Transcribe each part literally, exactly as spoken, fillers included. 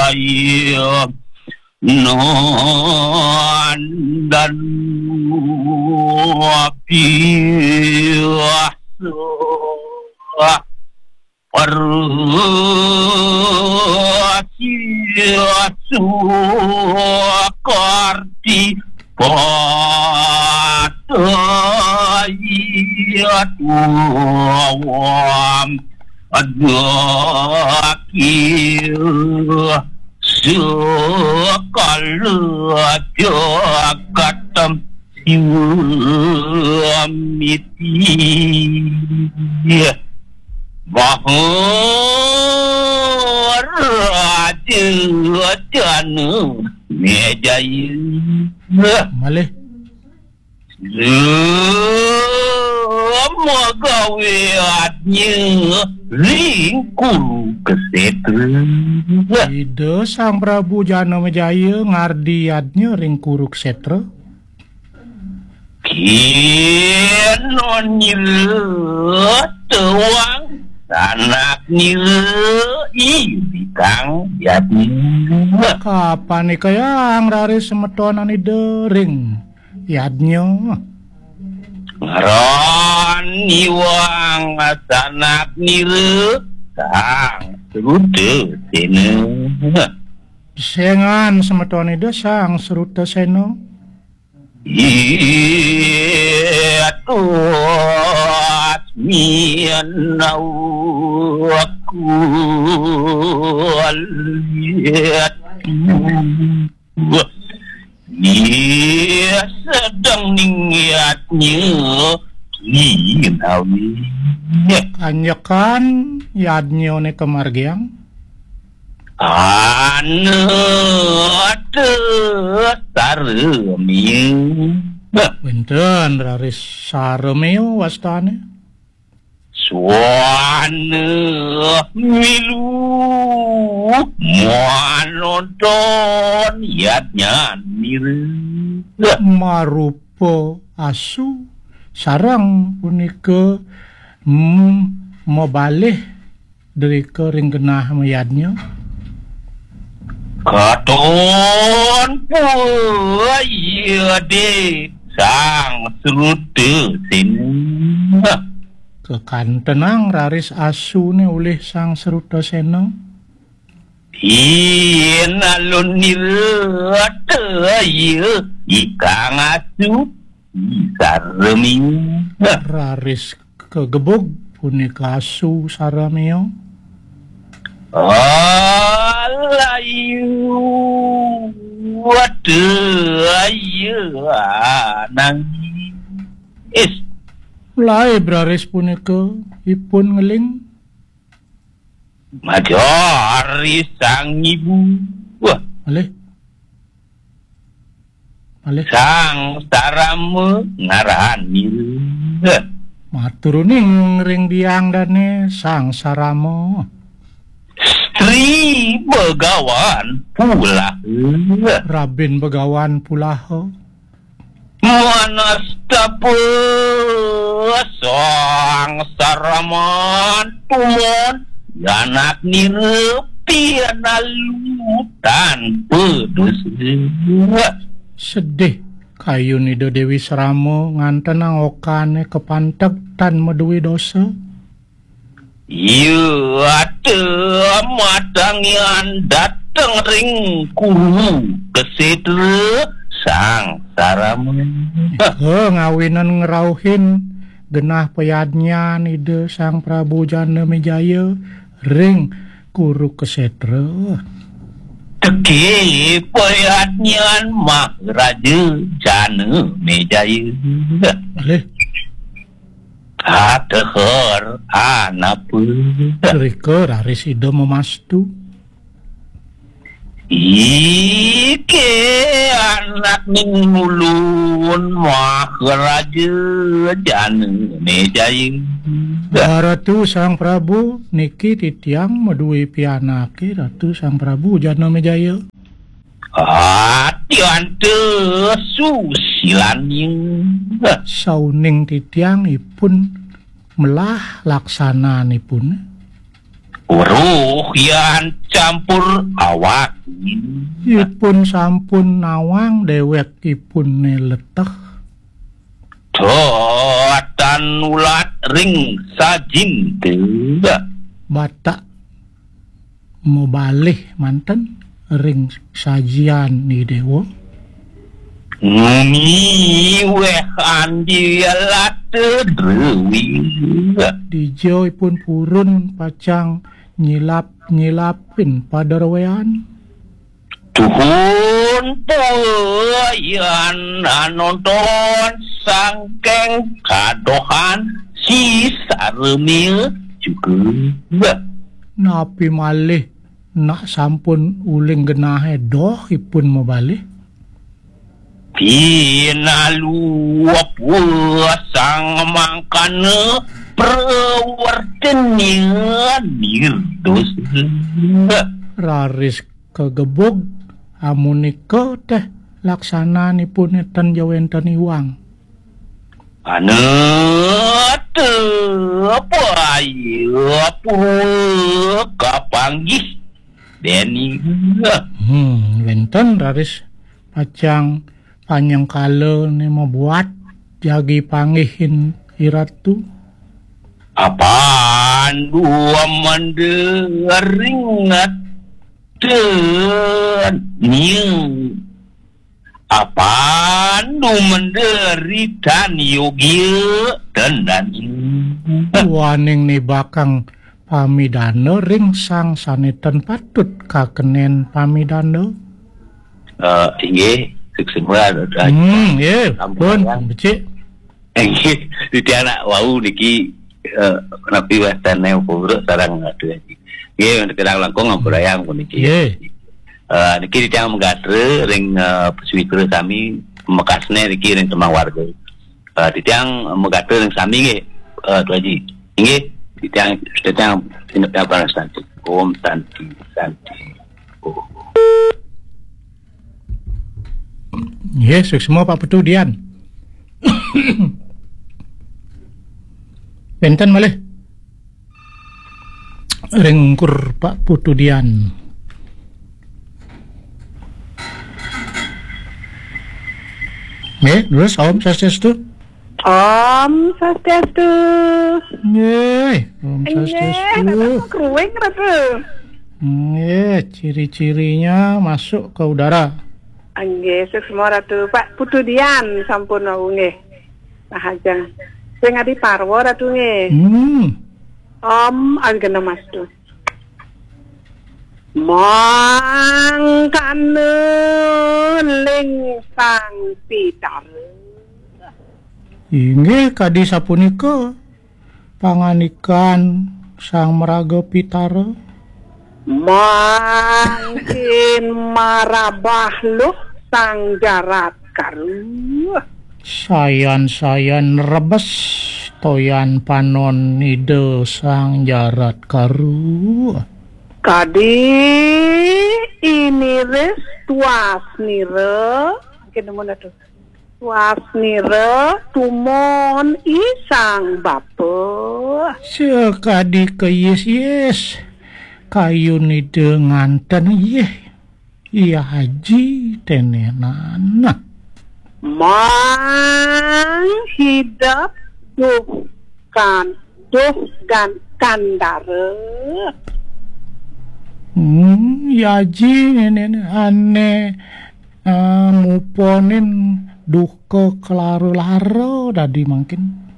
Jaya Nandan Biasa Parsi Sukarti Patayat Wam Adakil Sekala Jagatam Siwamiti Maharaja Jana Mejaya. Malih. Semagawe adnya ring Kurukshetra. Ida Sang Prabu Jana Mejaya ngardi adnya ring Kurukshetra. Kena nira tewang sanak nira ibikang yadnya. Kapan ikayang raris semeton anida ring yadnya? Ngaran iwang sanak nira Sang Srutasena. Sengan semeton ida Sang Srutasena? Itusmin aku lihat. Iya, sedeng ningyatnya ginawi. Kanjekan yadnyane kamargiang. Anata saremia. Wenten raris saremia wastane. Swana milu manonton yadnyan mira. Marupa asu sareng punika, mm, mabalih drika ring genah mayadnya. Katon puyade Sang Srutasena. Kekantenang raris asune ulih Sang Srutasena. Yen alun nira taya ikang asu saremia. Raris kagebug punika asu saremia. Alayu wata ayu anang is. Laib raris punika ipun ngeling. Majari sang ibu. Wah. Malih. Malih. Sang Sarama ngaran nira. Matur uning ring biang dane Sang Sarama. Sri Begawan Pulaha. Rabin Begawan Pulaha. Manastapa Sang Saraman tumon anak nira pinalu tanpa dosa. Sedih kayun Ida Dewi Sarama ngantenang okane kapanteg tan madue dosa. Iya, ata matangyan dateng ring Kuru Kesetra Sang Sarama. Ika ngawinan ngrauhin genah payadnyan Ida Sang Prabu Jana Mejaya ring Kuru Kesetra. Teke payadnyan Maharaja Jana Mejaya. Malih. Katehar anapa? Rika raris Ida mamastu. Ike anak ning ulun Maharaja Jana Mejaya. Ratu Sang Prabu, niki titiang madue pianake Ratu Sang Prabu Jana Mejaya. Atyanta susilanya. Sauning titiang ipun melah laksananipun. Weruh yan campur awak. Ipun sampun nawang dewek ipun ne leteh. Dotan ulat ring sajin te. Batak mabalih manten ring sajian ni dewa. Nguni weh andi alat drewi. Dija ipun purun pacang nyilap-nyilapin paderwean. Tuhun puyan anonton sangkeng kadohan si saremia juga. Napi malih nak sampun uling genahe doh ipun mabalih? Pinalu sang mangkana prawertenya nirdosa. Raris kagebug amunika teh laksananipun ten ja wenten iwang. Anata paya pura kapanggih deni. Hmm, wenten raris pacang panyengkala ne mabuat jagi panggihin iratu. Apan dua menderingat tenia. Apan dumenderitan yogia tendani. Waning nibakang pamidana ring sang sane ten patut kakenen pamidana. Eh, inggih, suksma. Hmm, nggih, pun, becik. Inggih, titiang nak wau niki, eh, napi wastane pura sareng atu niki. Nggih, kirang langkung ngampurayang puniki. Nggih. Eh, niki titiang magatra ring, eh, pasawitra sami, mekasne niki ring tembang warga. Eh, titiang magatra ring sami nggih, eh, Tu Aji. Inggih, titiang, titiang sinep yang panas nanti. Om Santi, Santi. Oh. Nggih, suksma Pak Putu Dian. Wenten malih ring ungkur Pak Putu Dian. Nggih, terus Om Swastiastu. Om Swastiastu. Nggih, Om Swastiastu. Nggih, Ratu kruwing, Ratu. Nggih, ciri-cirinya masuk ke udara. Nggih, suksma Ratu. Pak Putu Dian sampun wau nggih. Nah, ajeng. Sing adi parwa Ratu nggih. Hmm. Om Agamastu. Mangkana ling Sang Pitara. Inggih kadi sapunika pangandikan Sang Maraga Pitara. Mangkin marabah luh Sang Jarat Karu. Sayan-sayan rebes toyan panon Ida Sang Jarat Karu. Kadi iniris tuasnira, mangkin nemun atuh. Tuasnira tumon I Sang Bapa. Sakadi kayis-yis kayun Ida nganten yih. Iya Aji tenenan. Mang hidep duh kan, duh gan kandara. Hmm, Iya Aji nenenan ane, eh, muponin duka kelara-lara dadi mangkin.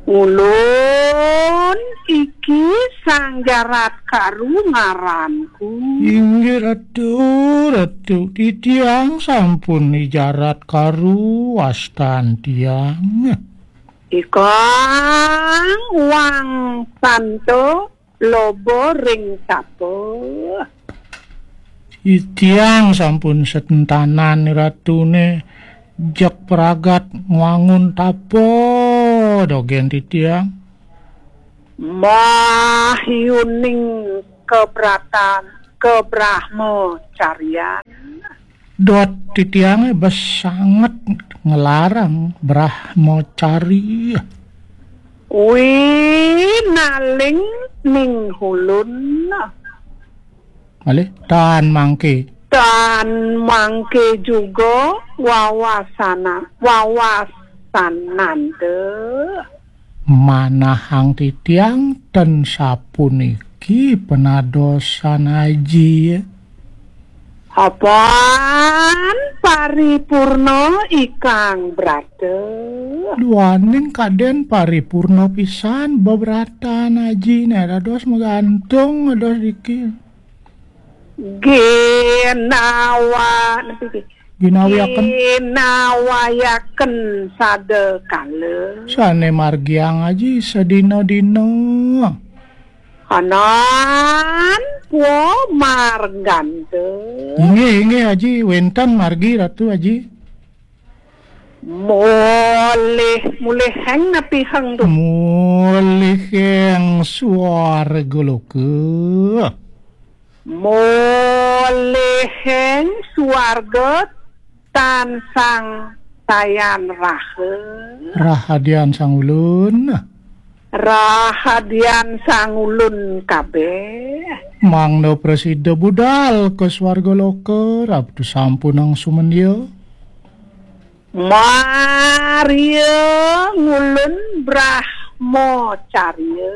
Ulun iki Sang Jarat Karu ngaranku. Inggih Ratu, Ratu, titiang sampun I Jarat Karu wastan tiang. Ikang wang santo loba ring tapa. Titiang sampun sentanan Ratune jeg pragat ngwangun tapa dogen titiang. Mahyuning kebratan kebrahmacarian. Dot titiange bes sanget ngelarang brahmacari. Winaling ning ulun. Malih, tan mangke. Tan mangke juga wawasana-, wawasananda. Manahang titiang ten sapuniki penadosan Aji. Apan paripurna ikang brata. Duaning kaden paripurna pisan bebratan Aji, nek dados magantung dados diki. Ginawa, napi ki? Ginawiaken. Ginawayaken sada kala. Sane margiang Aji sadina-dina. Anan wa marganta. Inggih, inggih, Aji. Wenten margi, Ratu Aji. Mulih, muliheng napi heng tu? Muliheng swarga loka. Muliheng swarga tan sang sayan raha. Rahadian sang ulun. Rahadian sang ulun kabeh. Mangda prasida budal ka swarga loka, Ratu sampunang sumendia. Maria ngulun Brahmacarya.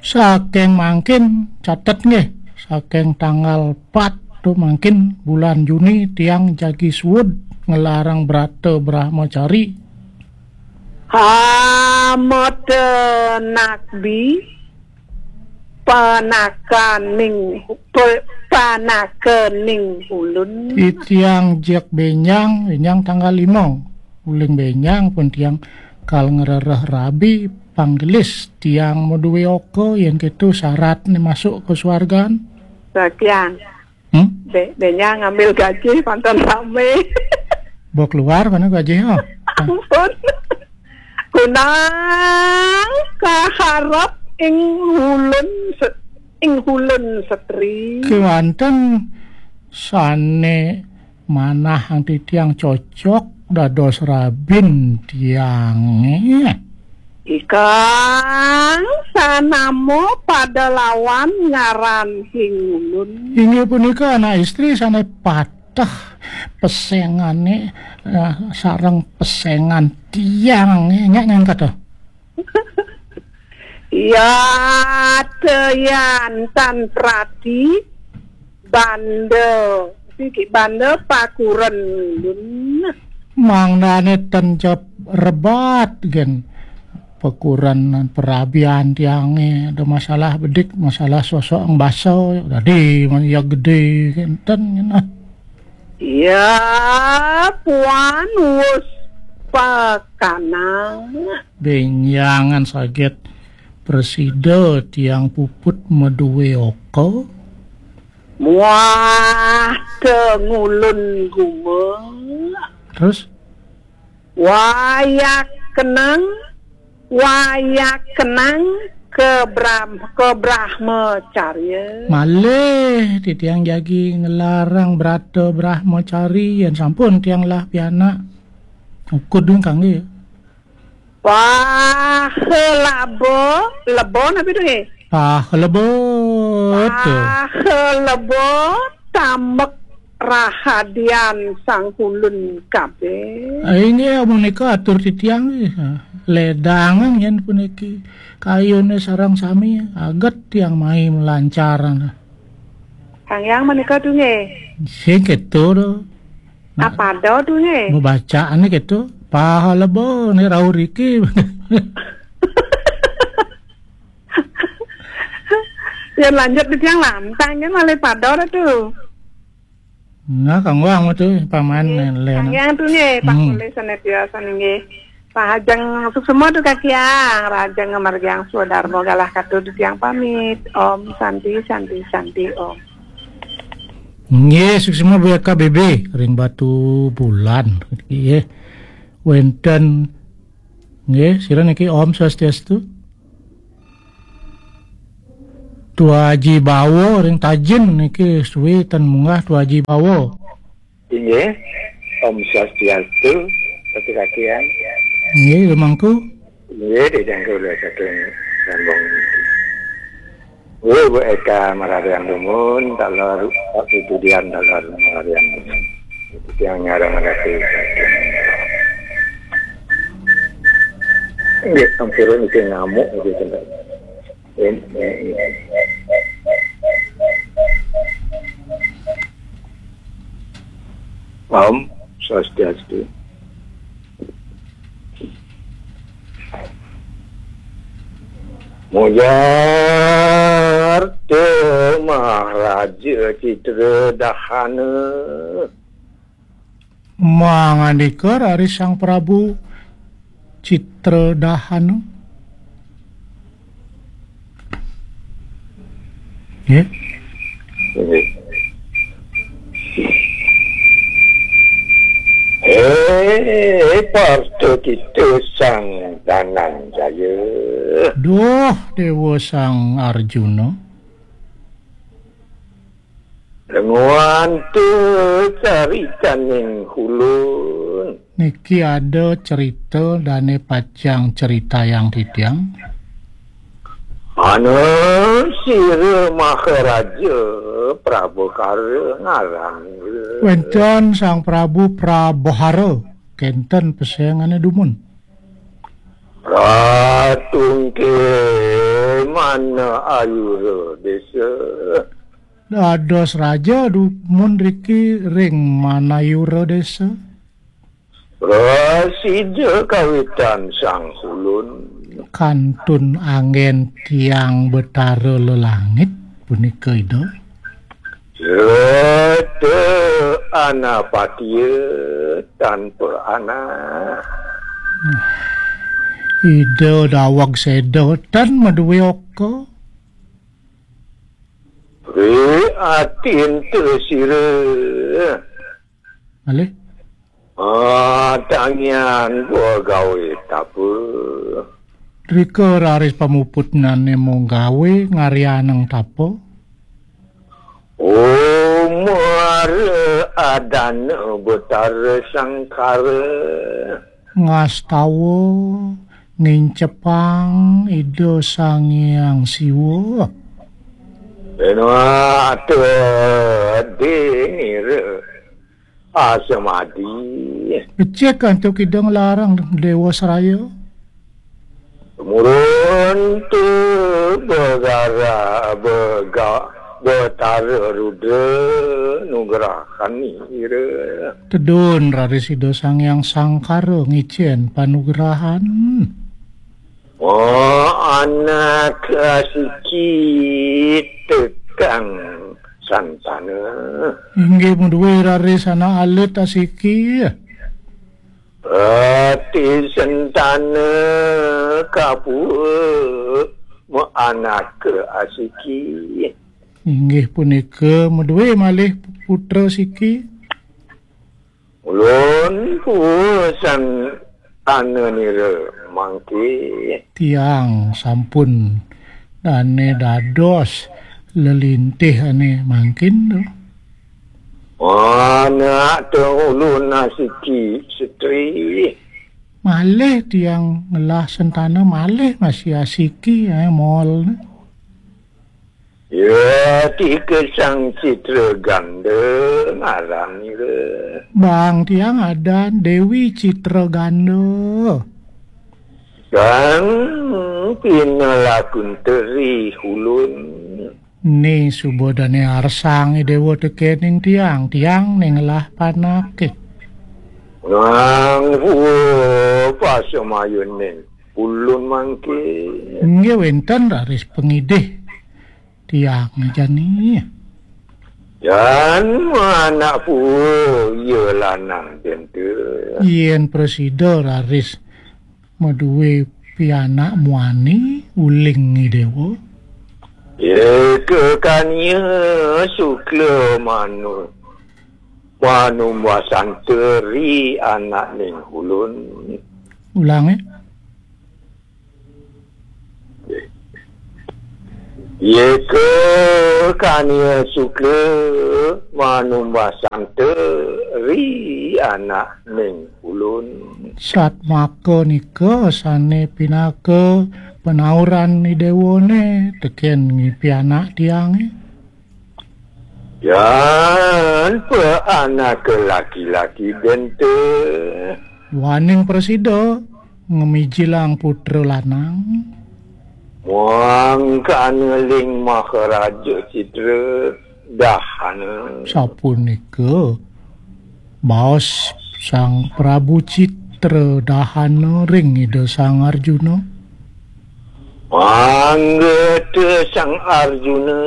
Saking mangkin, catet nggih, saking tanggal pat tu mangkin bulan Juni tiang jagi suud ngelarang brata Brahmacari. Hamata nakbi panakaning, pe-, panakaning ulun. Titiang jek benjang, benjang tanggal lima. Uling benjang pun tiang kal ngrereh rabi panggelis tiang madue oka yen keto syaratne masuk ke swargan. Sakian. Hmm? Be-, benjang ngambil gaji pantan rame. Bo keluar mana gaji, ha? Ampun. Kunang kaharap ing ulun se-, ing ulun setri. Kewanten sane manah anti tiang cocok dados rabin tiange. Ikang sanamo pada lawan ngaran hing ulun. Inggih punika anak istri sane patah pesengane, eh, sareng pesengan tiange. Nya nyangkata. Ya, teyan tan prati banda, siki banda pakuren ulun. Mangdane ten jep rebat gen pakuren perabian tiange, ada masalah bedik, masalah sosok yang basa, dadi ya gede kenten. Ya, puan wus pakanang. Benjangan saget presida tiang puput madue oka. Muah tengulun guma. Terus? Wayak kenang, wayak kenang ke Bram-, ke Brahmacarya. Malih titiang jagi ngelarang brata Brahmacari yen sampun tiang lah pianak. Ukud ding kangge. Pahelabo, lebo napi tu, nggih? Pahelebo, tu. Pahelebo, tambek rahadian sangkulun kabeh. Ah, inggih, amun nika atur titiang, nggih. Ledangan yen puniki. Kayune sareng sami, aget tiang mai melancar. Kang Yang menika tu, nggih. Sing keto, tu. Nah, apa do tu, nggih? Bacaan ni gitu. Pahala bo ni rau riki. Ya lanjut di tiang lantang kan malih pada dah tu. Nah, kang wang tu paman. Nggih, len. Kang Yang tu nggih, Pak Hmm. Polisi sana biasa nggih. Rahajeng suksma tu Kaki Yang, rahajeng ngamargiang swadarma galah katut tiang pamit. Om Santi, Santi, Santi, Om. Nggih, suksma B K B B ring Batu Bulan. Nggih. Wenten nggih, sira niki Om Swastiastu. Tua Haji Bawa ring Tajin niki suwi ten munggah Tua Haji Bawa. Inggih. Om Swastiastu, Ratu Kakian. Inggih, lumangku. Inggih, didang kula saking Rembang niki. Wih, Bu Eka mararian dumun, taler, Pak Putudian taler mararian dumun. Itu yang ngarang ngerti. Nggih, ampun niki ngamuk niki, Tante. Em, em, em. Om Swastiastu. Muyar te Maharaja Citra Dahana. Mangandika raris Sang Prabu Citra Dahana. Ya. Eh, parta kita Sang Dananjaya. Duh, Dewa Sang Arjuna. Lenguan te caritaning ulun. Niki ada cerita dane pacang ceritayang titiang. Ana sira Maharaja Prabhakara ngaran. Wenten Sang Prabu Prabhara, kenten pesengane dumun. Ratungke mana ayura desa. Dados raja dumun riki ring Manayura desa. Prasida kawitan Sang Ulun. Kantun anggen tiang Betara Lelangit punika Ida. Rata anapatia tanpa anak. Ida daweg seda tan madue oka. Ri atin te sira. Malih. Ah, tangian begawe tapa. Rika raris pamuputnane mung gawe ngaryaneng tapa. Umara adana Betara Sangkara. Ngastawa nincepang Ida Sang Hyang Siwa. Benwata denira asamadi. Becik antuk Ida nglarang Dewa Seraya. Tumurun tu begara bega Betara Rudra nugrahan ira. Tedun raris Ida Sang Hyang Sangkara ngicen panugrahan. Oh, anak asiki tekang santana. Inggih madue raris anak alit asiki. Rati sentana kapua ma anak asiki. Inggih punika madue malih putra siki. Ulun pusan tananira mangke. Tiang sampun dane dados lelintih ane mangkin tu. Anak te ulun asiki setri. Malih tiang ngelah sentana malih masih asiki, eh, mol. Ya, tika Sang Citra Ganda ngaran ira. Bang tiang adan Dewi Citra Ganda. Sang pinalakun teri ulun. Ni suba dane arsang Dewa tekening tiang, tiang ning lah panake. Nang pua pasamayuning ulun mangke. Inggih wenten raris pangidih tiang jani. Jan anak pua iya lanang dente. Yen prasida raris madue pianak muani uling Dewa. Eka kania sukla manu, manumbasanta ri anak ning ulun. Ulange. Yeka kania sukla manumbasanta ri anak ning Satmaka nika sane pinaka panauran Ida Dewane teken ngipi anak tiange. Yan pa anak laki-laki dente. Duaning prasida ngemijilang putra lanang. Mangkana ling Maharaja Citra dahana. Sapunika baos Sang Prabu Citra dahana ring Ida Sang Arjuna. Mangga te Sang Arjuna.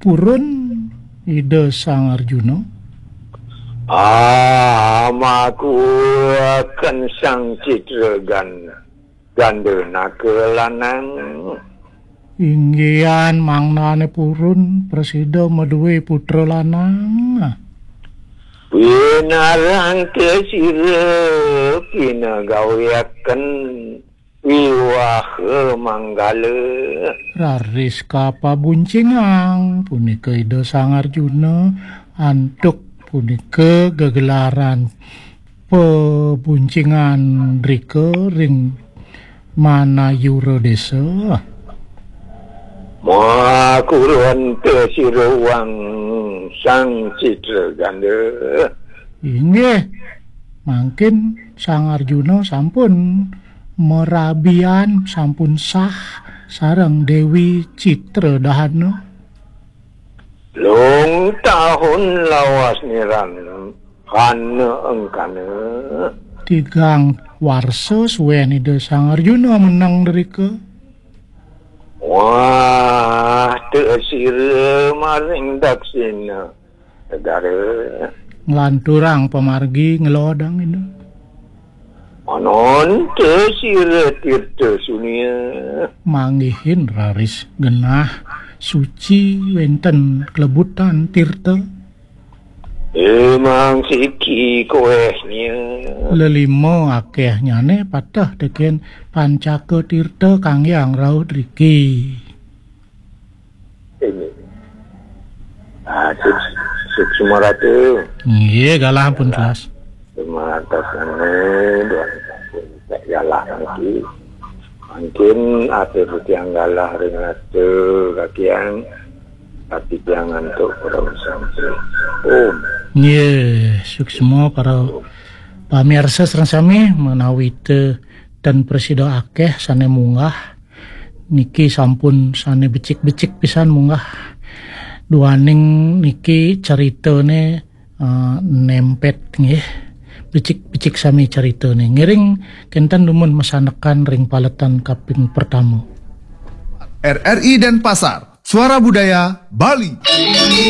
Purun Ida Sang Arjuna. Amaku akan Sang Citra gan ganda naka lanang. Inggihan mangnane purun prasida madue putra lanang. Winarang te sira pinagawiaken wiwaha manggala. Raris kapabuncingang punika Ida Sang Arjuna, antuk punika gegelaran pabuncingan rika ring Manayura Desa. Makurunta siruang Sang Citra Ganda. Inggih, mangkin Sang Arjuna sampun marabian, sampun sah sareng Dewi Citra Dahana. Lung tahun lawas niran kana engkana. Tigang warsa suwen Ida Sang Arjuna meneng drika. Wah, te sira maring daksina negara. Nglanturang pamargi ngelodang Ida. Ananta sira tirta sunia. Manggihin raris genah suci wenten klebutan tirta. Emang siki koehnya. Lelima akehnyane pateh teken pancaka tirta kangge angrauh driki. Ini. Ah, suk-, suksma ratu. Nggih, galah pun telas. Terima atas nama doa tak galah lagi. Mungkin apa yang galah ring ratu kakian, tapi jangan untuk orang sampai. Om. Nggih, suksma para pamirsa sareng sami menawi te ten prasida akeh sane munggah. Niki sampun sane becik-becik pisan munggah. Duaning niki caritane, eh, nempet nggih. Becik-becik sami caritane. Ngiring kenten dumun masanekan ring paletan kaping pertama. R R I Denpasar, Suara Budaya Bali.